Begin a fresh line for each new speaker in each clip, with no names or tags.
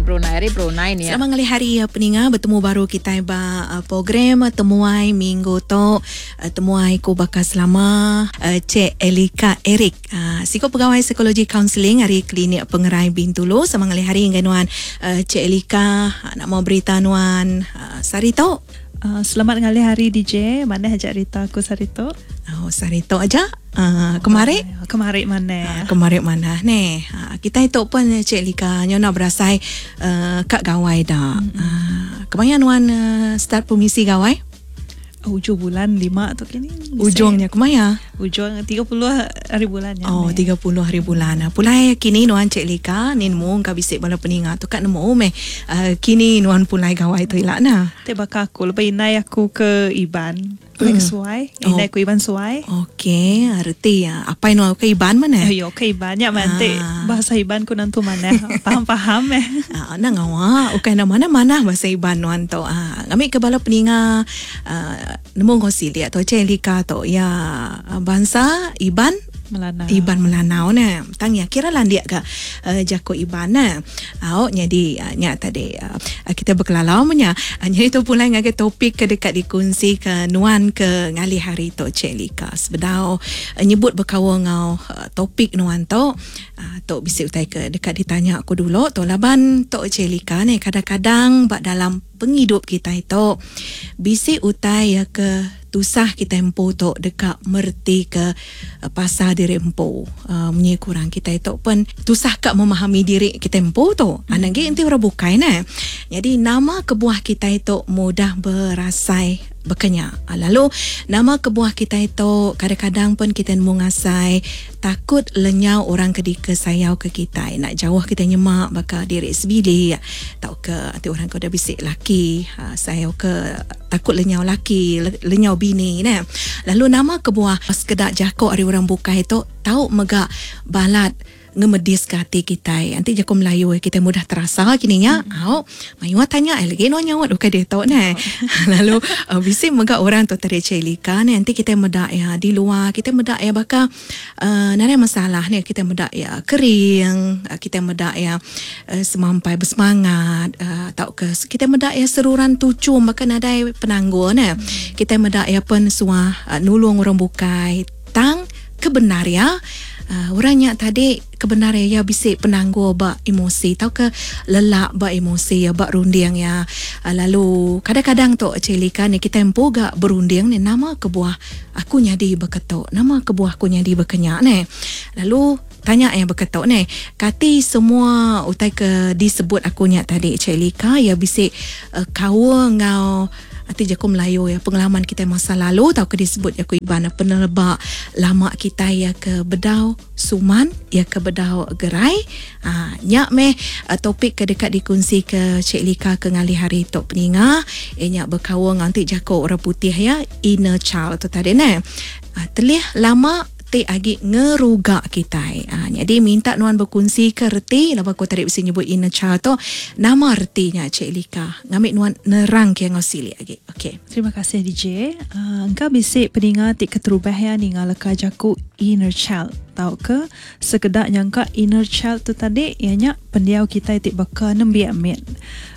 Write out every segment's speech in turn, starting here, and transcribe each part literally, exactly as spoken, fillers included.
Brunei, ari Brunei ni.
Selamat ngalih hari peninga, betemu baru kita ba program Temuai Minggu tu. Temuai ku bakal selama Cik Elika Eric. Siko pegawai psikologi kaunseling hari Klinik Pengerai Bintulu. Selamat ngalih hari dengan nuan Cik Elika, nak mau berita nuan sehari tu.
Uh, selamat ngalih hari D J. Mana ajak Rita aku sehari tu?
Oh, sehari tu aja. Uh, kemarin?
Oh, kemarin mana?
Uh, kemarin mana ni? Uh, kita itu pun Cik Lika nyo nak berasai uh, kat gawai dah. Mm-hmm. Uh, kemarin nuan uh, start permisi gawai?
Ujung bulan lima tu kini.
Ujungnya kemaya?
Ujung tiga puluh hari bulan ya.
Oh, tiga puluh hari bulan. Pulai kini nuan Cik Lika, nin mung ka bisik bala peninga tu kat nemu meh. Uh, kini nuan pulai gawai tu ilak na.
Te baka aku lepas inai aku ke Iban. Pulai ke Suai, inai aku Iban Suai.
Okey, arti ya. Apa nuan ke Iban mana?
Yo ke Iban ya mantik bahasa Iban ku nantu mana. Faham-faham eh.
Ah, nang awak ukai na mana-mana bahasa Iban nuan tu. Ah, ngamik ke bala peninga nemu ngosi liat tu Cik Lika tu ya bangsa Iban
Melanau.
Iban Melanau ne. Tang ya kira landiak ke uh, jako Iban ne. Au jadi uh, nya tadi uh, kita berkelalau menya. Uh, jadi tu pula ngagai topik ke dekat dikongsi ke nuan ke ngalih hari tu Cik Lika. Sebedau uh, nyebut berkawa ngau uh, topik nuan tu uh, tu bisi utai ke dekat ditanya aku dulu tu laban tu Cik Lika ne kadang-kadang bak dalam penghidup kita itu bisi utai ya ke tusah kita empu tu dekat merti ke uh, pasal diri empu. Uh, munyi kurang kita itu pun tusah kak memahami diri kita empu tu. Hmm. Anak ge enti orang bukai ne. Jadi nama kebuah kita itu mudah berasai berkenyak. Lalu nama kebuah kita itu kadang-kadang pun kita mengasai takut lenyau orang kedika sayau ke kita. Nak jauh kita nyemak bakal diri sebilik tau ke nanti orang kau dah bisik laki sayau ke takut lenyau laki lenyau bini ne. Lalu nama kebuah sekedak jakok ari orang bukai itu tau megak balat ngemedis ke hati kita. Nanti jago Melayu kita mudah terasa kini nya. Mm. Au, mayu tanya eh lagi no nyawat bukan dia tahu ne. Lalu uh, bisi megak orang tu tadi Cik Lika ni nanti kita medak ya di luar kita medak ya bakal uh, nare masalah ni kita medak ya kering, uh, kita medak ya uh, semampai bersemangat uh, tau ke kita medak ya seruran tucum bahkan nadai penanggul ne. Mm. Kita medak ya pen suah uh, nulung orang bukai tang kebenar ya. Uh, orangnya tadi kebenaran ya bisik penanggul bak emosi tau ke lelak bak emosi ya bak runding ya. Uh, lalu kadang-kadang tu Cik Lika ni kita empu gak berunding ni nama kebuah aku nyadi berketuk, nama kebuah aku nyadi berkenyak ni. Lalu tanya yang berketuk ni kati semua utai ke disebut aku nyak tadi Cik Lika ya bisik uh, kawa ngau ati jago Melayu ya pengalaman kita masa lalu tau ke disebut ya ku Iban penelebak lama kita ya ke bedau suman ya ke bedau gerai. Ha, nyak meh topik ke dekat dikongsi ke Cik Lika ke ngalih hari tok peninga eh nyak berkawa nganti jago orang putih ya inner child tu tadi ne. Ha, telih lama ti agi ngerugak kita. Ha, jadi minta nuan berkongsi ke reti lepas aku tadi mesti nyebut inner child tu nama retinya Cik Lika. Ngamik nuan nerang ke ngau silik agi. Okey.
Terima kasih D J. Uh, engkau bisik peninga ti keterubah ya ninga leka jaku inner child. Tau ke sekedak nyangka inner child tu tadi ianya pendiau kita ti baka nembiak mit.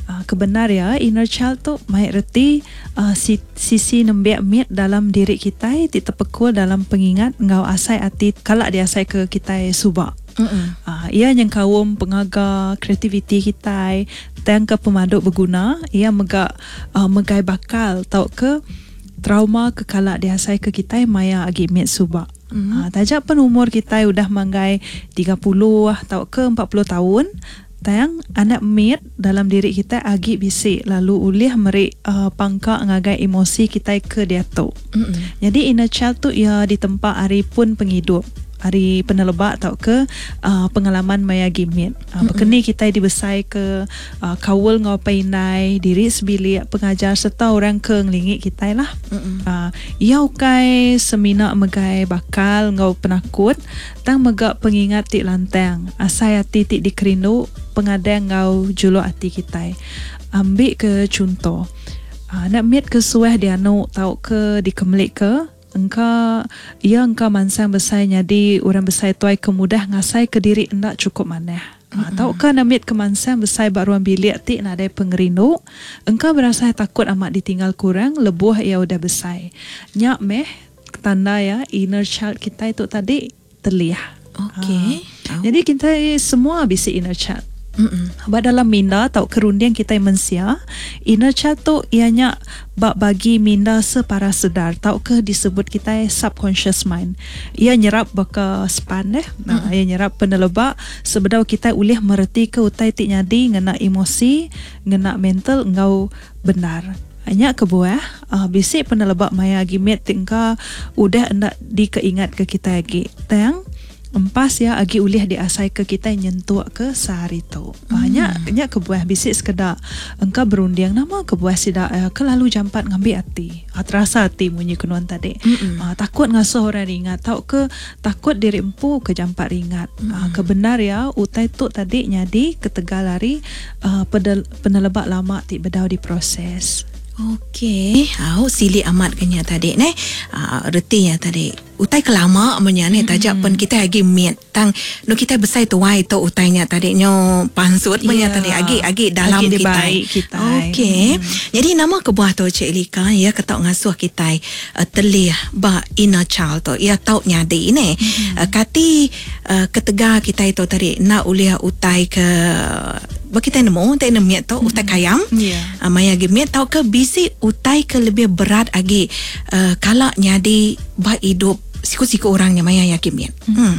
Uh, kebenar ya inner child tu mai reti uh, si, sisi nembiak mit dalam diri kita ti terpekul dalam pengingat ngau asai ati kalak dia asai ke kita subak. Uh, ia yang kaum pengaga kreativiti kita tang ke pemaduk berguna ia megak uh, megai bakal tau ke trauma ke kalak dia asai ke kita maya agi mit subak. Mm-hmm. Uh, tajak pun umur kita udah manggai tiga puluh atau ke empat puluh tahun tang anak mit dalam diri kita agi bisik lalu ulih merik uh, pangkak ngagai emosi kita ke dia tu. Mm-hmm. Jadi inner child tu ia ditempa hari pun penghidup hari penelebak tau ke uh, pengalaman maya gimit. Uh, berkeni kita dibesai ke uh, kawul ngau painai diri sebilik pengajar serta orang ke ngelingik kita lah. Uh, ia ukai semina megai bakal ngau penakut tang megak pengingat tik lantang asai hati tik dikerindu pengadang ngau juluk hati kita. Ambil ke contoh uh, nak mit ke suah dia anu tau ke dikemelik ke engka ia engka mansang besai nyadi orang besai tuai kemudah ngasai ke diri endak cukup manah. Mm-hmm. Atau ke namit kemansang besai ba ruang bilik ti nadai pengerindu, engka berasa takut amat ditinggal kurang lebuh ia udah besai. Nyak meh tanda ya inner child kita itu tadi telih.
Okey.
Ha. Jadi kita semua bisi inner child.
Mm-mm.
Ba dalam minda atau kerunding kita mensia, inner child tu ianya bak bagi minda separa sedar tau ke disebut kita subconscious mind. Ia nyerap baka span deh. Nah, ia nyerap penelebak sebedau kita ulih mereti ke utai ti nyadi ngena emosi, ngena mental engau benar. Hanya kebuah uh, bisi penelebak maya gimit tingka udah endak dikeingat ke kita lagi. Tang empas ya agi ulih diasai ke kita nyentuk ke sehari tu. Banyak hmm. nya kebuah bisi sekedak engka berunding nama kebuah sida eh, kelalu jampat ngambil ati. Ah, terasa ati munyi kenuan tadi. Ah, takut ngasuh orang ringat tau ke takut diri empu ke jampat ringat. Mm-mm. Ah, kebenar ya utai tu tadi nyadi ketegal hari uh, pedel, penelebak lama ti bedau diproses.
Okey, au sili amat kenya tadi ne. Uh, reti ya tadi. Utai kelama menya ni tajak pun kita lagi miet tang nu kita besai tuai tu utainya tadi nyo pansut menya
Ya.
tadi agi agi dalam
Agi
kita.
dibaik kita.
Okey. Jadi nama kebuah tu Cik Lika ya ketok ngasuh kita uh, telih ba inner child tu. Ya tau nyadi ne. Hmm. Uh, kati uh, ketegar kita itu tadi nak uliah utai ke ba kita nemu utai nemiet tu utai kayam.
Ya.
Uh, maya gemit tau ke bisi utai ke lebih berat agi uh, kalau nyadi ba hidup siku-siku orangnya maya ya gemit. Hmm. hmm.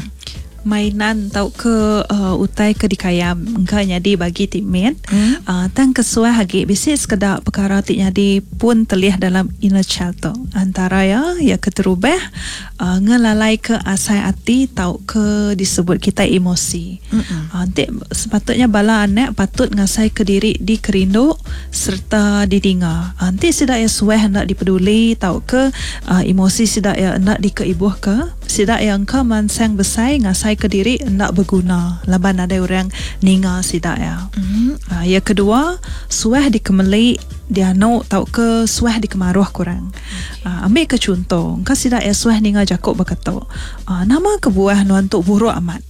Mainan tau ke uh, utai ke dikayam engka nyadi bagi ti mit
Hmm.
uh, tang kesuah agi bisi sekedak perkara ti nyadi pun telih dalam inner child tu. Antara ya ya keterubah uh, ngelalai ke asai ati tau ke disebut kita emosi.
Mm-mm.
Uh, nanti sepatutnya bala anak patut ngasai ke diri dikerindu serta didinga. Uh, nanti sidak ya suah hendak dipeduli tau ke uh, emosi sidak ya hendak dikeibuh ke sidak yang ke mansang besai ngasai ke diri hendak berguna laban ada orang ninga sidak ya.
Hmm.
Uh, yang kedua, suah dikemeli dianu tau ke suah dikemaruh kurang. Okay. Uh, ambil ke contoh, engkau sidak ya suah ninga jakuk berkata, uh, nama kebuah nuan tu buruk amat.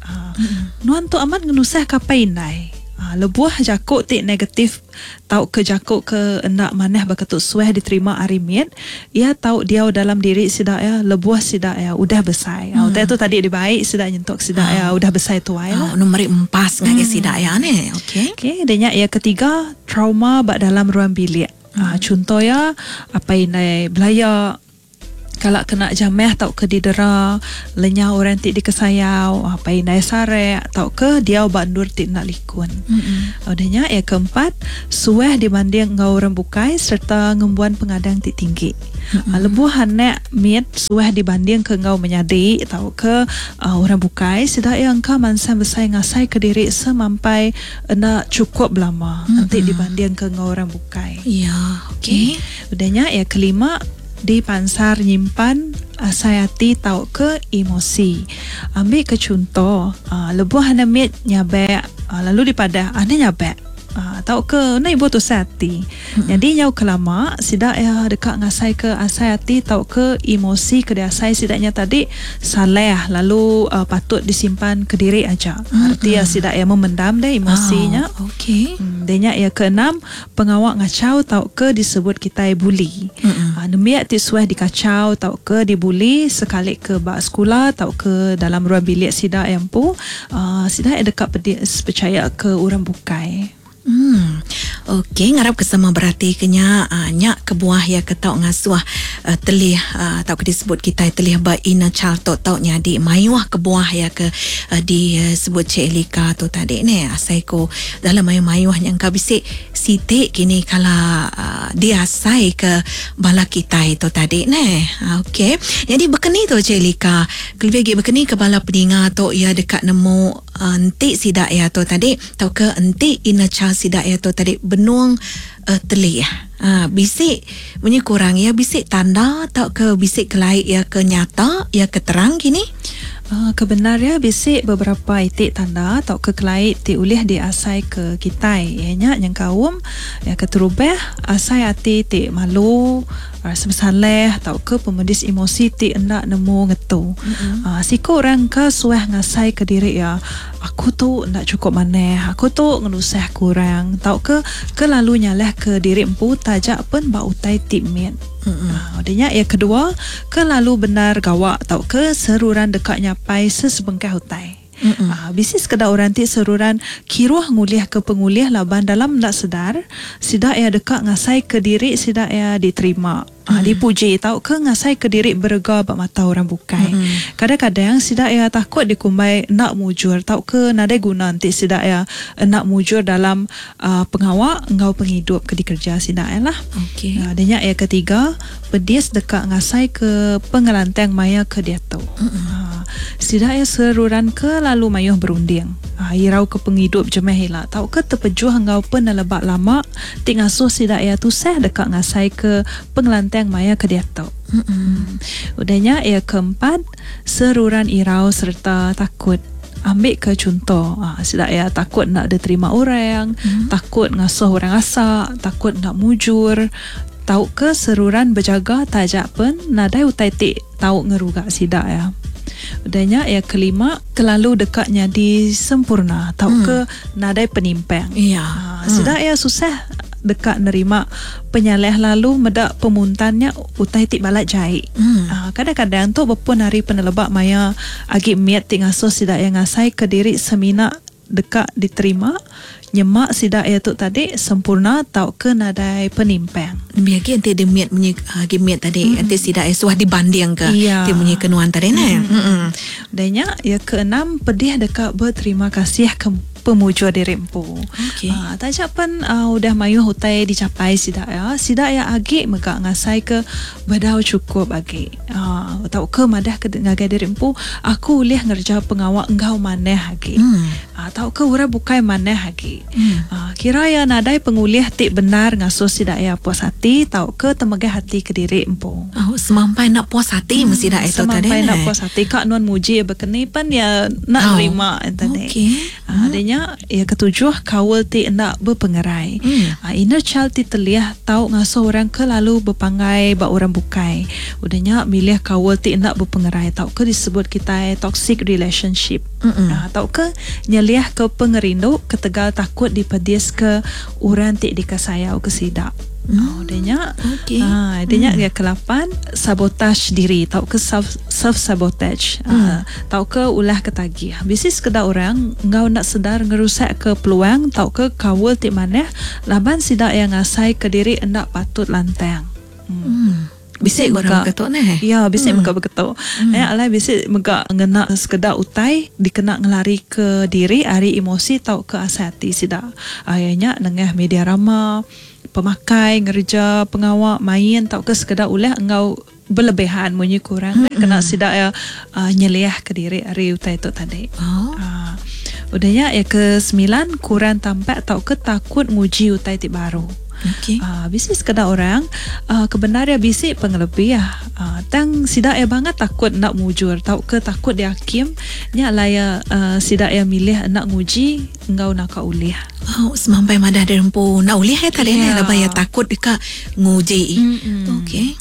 Uh, mm-hmm. Nuan tu amat ngenusah kapai indai. Uh, lebuah jakuk ti negatif tau ke jakuk ke endak manah berketuk suah diterima arimit, ia tau dia dalam diri sidak ya lebuah sidak ya udah besai. Hmm. Uh, tu tadi dibaik sidak nyentuk sidak ya udah besai tuai lah.
Oh, nombor empat ngagai sidak ya ni. Okey.
Okey, dan yang ketiga trauma bak dalam ruang bilik. Hmm. Uh, contoh ya apa indai belaya kalau kena jameh tau ke didera lenyau orang ti dikesayau apa indai sarek tau ke dia bandur ti nak likun.
Mm-mm.
Udahnya yang keempat suah dibanding ngau orang bukai serta ngembuan pengadang ti tinggi. Mm-hmm. Lebuh anak miet suah dibanding ke ngau menyadi tau ke uh, orang bukai sedak yang ka mansan besai ngasai ke diri semampai nak cukup lama mm-hmm. nanti dibanding ke ngau orang bukai.
Ya, okey.
Udahnya yang kelima di pansar nyimpan asai hati tau ke emosi. Ambil ke contoh, uh, lebuh anak miet nyabek, uh, lalu dipadah anak nyabek. Uh, tau ke na ibu tu hati. Hmm. Jadi nyau kelama sidak ya dekat ngasai ke asai hati tau ke emosi ke asai sidaknya tadi salah lalu uh, patut disimpan ke diri aja. Hmm. Arti ya sidak ya memendam deh emosinya.
Oh, okey.
Hmm, denya ya keenam pengawak ngacau tau ke disebut kita bully.
Hmm.
Uh, nemiak ti suah dikacau tau ke dibuli sekali ke bak sekolah tau ke dalam ruang bilik sidak yang pu uh, sidak ya dekat percaya ke orang bukai.
Hmm. Okey, ngarap kesama berarti kenya uh, nyak kebuah ya ke tau ngasuh uh, telih uh, tau ke disebut kita telih ba inner child tu tau nyadi mayuh kebuah ya ke uh, disebut Cik Elika tu tadi ni asai ko dalam mayuh-mayuh yang ka bisik sitik kini kala uh, diasai ke bala kita itu tadi ni. Okey. Jadi berkeni tu Cik Elika, lebih lagi berkeni ke bala peninga tu ya dekat nemu uh, entik sidak ya tu tadi tau ke entik inner child sidak ya tu tadi benung uh, telih. Ha, bisik bunyi kurang ya bisik tanda tau ke bisik kelaik ya ke nyata ya ke terang kini.
Uh, kebenarnya bisik beberapa itik tanda atau ke kelaik ti ulih diasai ke kitai ianya yang kaum ya keterubah asai ati ti malu rasa bersalah atau ke pemedis emosi ti endak nemu ngetu.
Mm-hmm.
Uh, siku orang ke suah ngasai ke diri ya Aku tu nak cukup maneh, aku tu ngenusah kurang, tau ke ke lalu nyalah ke diri empu tajak pun ba utai ti mit. Mm-hmm. Uh, yang kedua, ke lalu benar gawak tau ke seruran dekat nyapai sesebengkah utai. Mm-hmm. Uh, bisi sekeda orang ti seruran kiruh ngulih ke pengulih laban dalam ndak sedar, sidak ia dekat ngasai ke diri sidak ia diterima. Mm. Uh, dipuji tau ke ngasai ke diri berega bak mata orang bukai. Mm. Kadang-kadang sidak ia takut dikumbai nak mujur tau ke nadai guna nanti sidak ia nak mujur dalam uh, pengawak engau penghidup ke dikerja sidak ia lah.
Okey.
Uh, denya ia ketiga, pedis dekat ngasai ke pengelantang maya ke dia tu. Mm. Uh, sidak ia seruran ke lalu mayuh berunding. Uh, irau ke penghidup jemeh hila tau ke terpejuh engau penelebak lama ti ngasuh sidak ia tusah dekat ngasai ke pengelantang maya ke dia tu. Mm-mm. Udahnya ia keempat, seruran irau serta takut. Ambil ke contoh, ha, sidak ia takut nak diterima orang, mm-hmm. takut ngasuh orang asak, takut nak mujur, tau ke seruran berjaga tajak pun nadai utai tik tau ngerugak sidak ya. Udahnya ia kelima, kelalu dekat nyadi sempurna tau mm. ke nadai penimpang.
Ya.
Ha, sidak mm. ia susah dekat nerima penyaleh lalu medak pemuntannya utai tik balat jahit.
Mm.
Ha, kadang-kadang tu berpun hari penelebak maya agi miat tik ngasuh sidak yang ngasai ke diri semina dekat diterima nyemak sidak ia tu tadi sempurna tau ke nadai penimpang.
Biar ke nanti dia miat munyi agi miat tadi nanti mm. sidak ia suah dibanding ke
ya.
Dia munyi kenuan tadi ne.
Mm. Mm. Danya ia keenam, pedih dekat berterima kasih ke pemuja diri empu.
Okey.
Uh, tajak pun uh, udah mayuh utai dicapai sidak ya. Sidak ya agi megak ngasai ke bedau cukup agi. Uh, tau ke madah ke ngagai diri empu, aku ulih ngerja pengawak enggau maneh agi.
Hmm.
Uh, tau ke ura bukai maneh agi.
Hmm.
Uh, kira ya nadai pengulih ti benar ngasuh sidak ya puas hati tau ke temegah hati ke diri empu.
Oh, semampai nak puas hati hmm. mesti dak itu tadi.
Semampai nak puas hati kak nuan muji berkeni pan ya nak
oh.
terima tadi.
Okey.
Uh, hmm. Ya ketujuh, kawal ti nak berpengerai.
Hmm.
Uh, inner child ti teliah tau ngasuh orang ke lalu berpangai bak orang bukai. Udahnya milih kawal ti nak berpengerai tau ke disebut kita toxic relationship.
Uh,
tau ke nyeliah ke pengerindu ketegal takut dipedis ke orang ti dikasayau ke sidak.
Hmm.
Oh, denya.
Okey.
Ha, denya
hmm.
yang kelapan, sabotaj diri tau ke self self sabotage.
Hmm.
Ha, tau ke ulah ketagih. Bisi sekedar orang ngau nak sedar ngerusak ke peluang tau ke kawal ti maneh laban sidak yang ngasai ke diri endak patut lantang.
Hmm. Hmm. Bisik orang berketuk neh.
Ya, bisik
hmm.
megak berketuk.
Hmm.
Eh, alai bisik megak ngena sekedar utai dikena ngelari ke diri ari emosi tau ke asal hati sidak. Ayahnya nengah media rama, pemakai, ngerja, pengawak, main tau ke sekedar ulah engau berlebihan munyi kurang
hmm.
kena sidak ya uh, nyeliah ke diri ari utai tu tadi.
Oh.
Uh, udahnya ya ke sembilan, kurang tampak tau ke takut nguji utai ti baru.
Okey.
Uh, bisi sekedar orang uh, kebenar ya bisi pengelebih ya. Uh, tang sidak ya banget takut nak mujur tau ke takut dihakim nya lah ya uh, sidak ya milih nak nguji engau nak ulih.
Oh, semampai madah derempu nak ulih ya tadi
yeah.
ni lah ya takut dekat nguji.
Mm-mm.
Okey.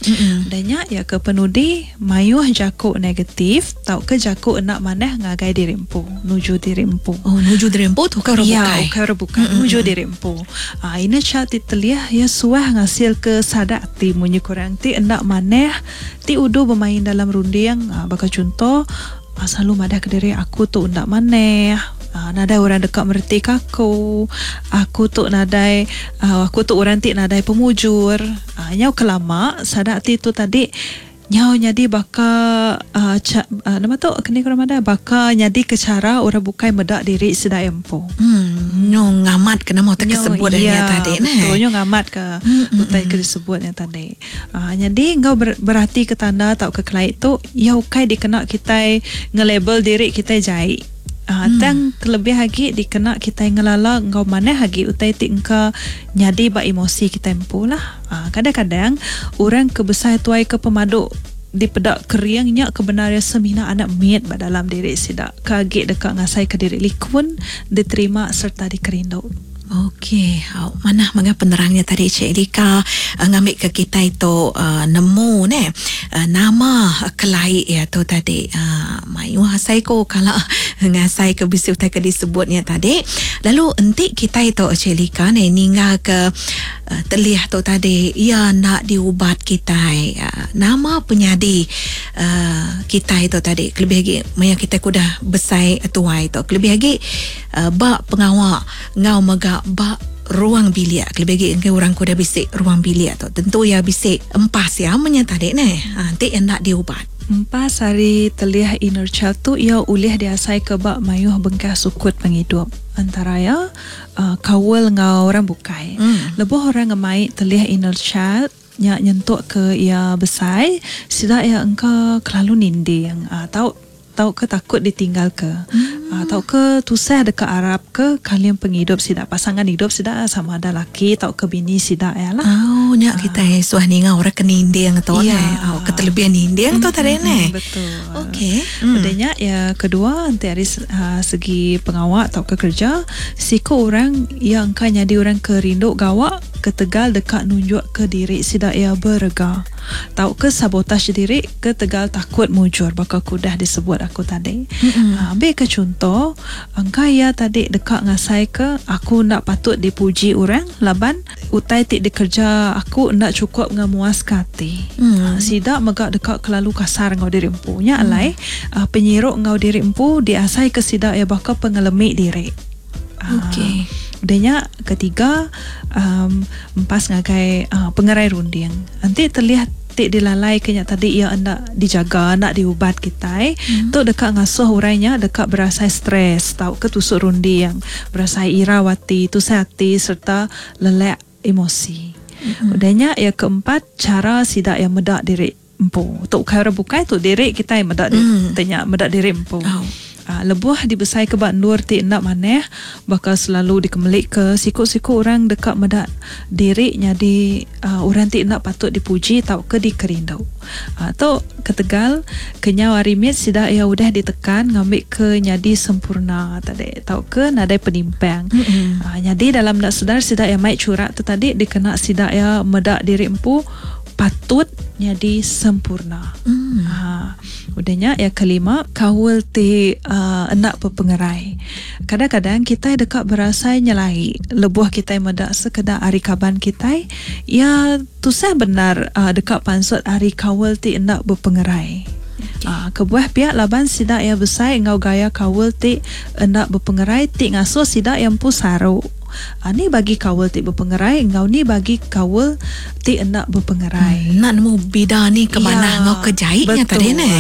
Danya ya ke penudi mayuh jakuk negatif tau ke jakuk nak maneh ngagai diri empu, nuju diri empu.
Oh, nuju diri empu tu kan
Ya,
bukai.
bukan bukan nuju diri empu. Ah, ini child titeliah ya suah ngasil ke sadak ti munyi kurang ti endak maneh ti udu bermain dalam runding. Ah, bakal contoh ah, selalu madah ke diri aku tu endak maneh. Uh, nadai orang dekat merti aku. Aku tu nadai uh, aku tu orang ti nadai pemujur. Uh, nyau kelama sadak ti tu tadi nyau nyadi baka uh, ca, uh, nama tu kena kurang ada baka nyadi ke cara orang bukai medak diri sedai empu.
Hmm, nyo ngamat kena mau tak kesebut
ya,
tadi nah.
Betul, nyo ngamat ke
hmm,
utai ke disebutnya tadi. Uh, jadi engkau ber, berhati ke tanda atau ke kelait tu ya ukai dikena kita ngelabel diri kita jai. Uh,
Hmm.
Tang terlebih lagi dikena kita ngelala engkau maneh lagi utai ti engkau nyadi ba emosi kita empu lah. Uh, kadang-kadang orang kebesar tuai ke pemaduk dipedak keringnya kebenaran semina anak miat ba dalam diri sidak. Kaget dekat ngasai ke diri likun diterima serta dikerindu.
Okey, oh, mana mega penerangnya tadi Cik Lika uh, ngambil ke kita itu uh, nemu ne uh, nama kelai ya tu tadi. Uh, mayu asai ko kalau ngasai ke bisi utai ke disebutnya tadi. Lalu entik kita itu Cik Lika ne ninggal ke uh, telih tu tadi ia nak diubat kita. Uh, nama penyadi uh, kita itu tadi kelebih lagi maya kita kudah besai tuai tu kelebih lagi uh, bak pengawak ngau mega bak ruang bilik kelebih lagi engke orang kuda bisik ruang bilik tu tentu ya bisik empas ya menya tadi ne ha, nanti nak diubat
Empas hari telih inner child tu ia ulih diasai ke bak mayuh bengkah sukut penghidup antara ya uh, kawal ngau orang bukai. Mm. Lebuh orang ngemai telih inner child nya nyentuk ke ia besai sida ia engka kelalu ninding atau uh, tau ke takut ditinggal ke hmm. uh, tau ke tusah dekat Arab ke kalian penghidup sidak pasangan hidup sidak sama ada laki tau ke bini sidak ya lah.
Oh nya uh. kita suah ninga orang ke ninding tu ya. Ne. Oh keterlebihan ninding hmm, tu tadi ne.
Betul.
Okey.
Hmm. Udahnya ya kedua nanti hari uh, segi pengawak tau ke kerja siku orang yang kan jadi orang ke rindu gawak ketegal dekat nunjuk ke diri sidak ya berega. Tau ke sabotaj diri ke tegal takut mujur bakal kudah disebut aku tadi. Mm-hmm. Ha, ambil ke contoh, angka ya tadi dekat ngasai ke aku nak patut dipuji orang laban utai tik dikerja aku nak cukup ngamuas ke hati. Mm. Ha, sidak megak dekat kelalu kasar ngau diri empu. Nya mm. alai uh, penyiruk ngau diri empu diasai ke sidak ya bakal pengelemik diri.
Okey.
Udahnya ketiga um, empas ngagai uh, pengerai runding. Nanti terlihat tik dilalai kenya tadi ia hendak dijaga nak diubat kita eh. Hmm. Tu dekat ngasuh urainya dekat berasa stres tau ke tusuk rundi yang berasa irawati tu hati serta lelek emosi. Hmm. Udahnya yang keempat cara sidak yang medak diri empu. Tok kara bukai tu diri kita yang medak diri hmm. tanya medak diri empu. Oh. Uh, lebuh dibesai ke bak nur ti nak maneh bakal selalu dikemelik ke siku-siku orang dekat medak diri nyadi uh, orang ti nak patut dipuji tau ke dikerindu. Uh, tu ketegal kenyau arimit sida ia udah ditekan ngambil ke nyadi sempurna tadi tau ke nadai penimpang. Mm-hmm. Uh, nyadi dalam nak sedar sida ia mai curak tu tadi dikena sida ia medak diri empu patut nyadi sempurna. Mm. Ha. Udahnya yang kelima kawal ti uh, enak pepengerai. Kadang-kadang kita dekat berasa nyelai lebuh kita medak sekedar ari kaban kita ya tusah benar uh, dekat pansut ari kawal ti enak berpengerai. Okay. Uh, kebuah pihak laban sidak yang besar ngau gaya kawal ti enak berpengerai ti ngasuh sidak yang pusaru. Ha, ni bagi kawal ti berpengerai ngau ni bagi kawal ti enak berpengerai.
Hmm, nak nemu bida ni ke mana ya, ngau kejaitnya tadi ne.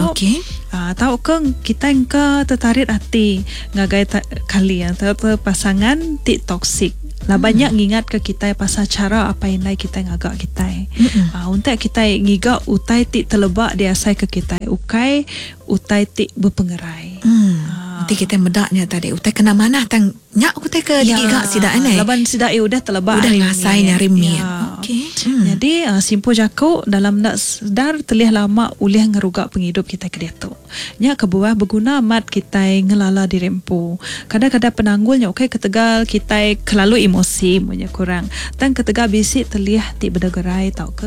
Okey. Ah, tahu ke kita engka tertarik hati ngagai ta- kali yang tahu pasangan ti toksik. Lah hmm. banyak ngingat ke kita pasal cara apa yang lain kita ngagak kita. Hmm. Ah, untuk kita ngigak utai ti telebak diasai ke kita. Ukai utai ti berpengerai.
Hmm. Nanti kita medaknya tadi utai kena mana tang nyak utai ke ya, digigak sidak ne.
Laban sidak eh udah telebak
udah ngasai nyari mi. Ya. Okey.
Hmm. Jadi uh, simpul jako dalam nak sedar telih lama ulih ngerugak penghidup kita ke dia tu. Nyak kebuah berguna amat kita ngelala diri empu. Kadang-kadang penanggulnya okey ketegal kita kelalu emosi punya kurang. Tang ketegal bisik telih ti berdegerai tau ke